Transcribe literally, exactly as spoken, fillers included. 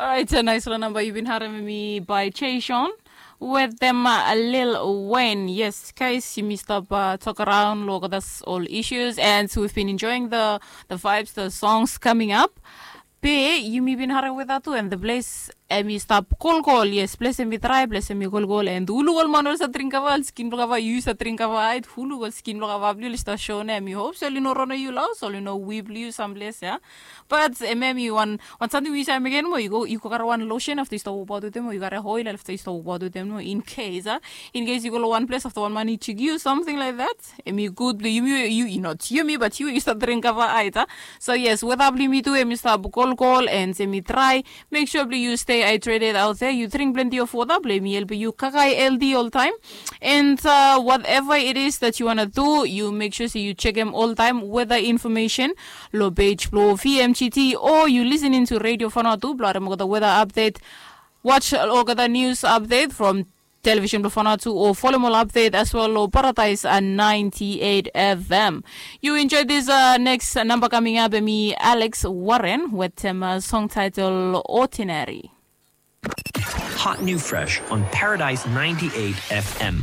Alright, a nais long namba yu bin harim mi by Jason with them uh, Lil Wayne. Yes, guys, yumi stap uh, tok around lo olgeta ol issues and we've been enjoying the the vibes, the songs coming up. Be yumi bin harim weta tu and the place em i stap kolkol. Yes, place em i drai, place em i kolkol and ulu ol man ol sa dring kava, ol skin blo kava, yu sa dring kava, ait ulu ol skin blo kava bli ol sta shone em i hope so ol i no rona yu laos ol i no wi bli yu samples ya. But em em i wan wan samting we yu sa mekem mo yu go yu go kare wan lotion afta yu stap wokabaot wetem mo yu kare oil afta yu stap wokabaot wetem mo in case a in case yu go long wan ples afta wan man i chik yu something like that. Em i gud blo yumi yu i not yumi but yu yu stap dring kava ait a. So yes, weta blo yumi tu em i stap kolkol and em i drai. Make sure blo yu stay hydrated out there, yu dring plenty of wota blo em i helpim yu kakai healthy oltaim. And uh, whatever it is that you wanna do, you make sure say you check em oltaim weather information lo page blo V M G T o you listening to Radio Fana tu blo harem olgeta weather update. Watch olgeta news update from television blo Fana tu o follow ol update as well lo Paradise a ninety-eight F M. You enjoy this uh, next number coming up, mi Alex Warren with um, a song title Ordinary. Hot new fresh on Paradise ninety-eight F M.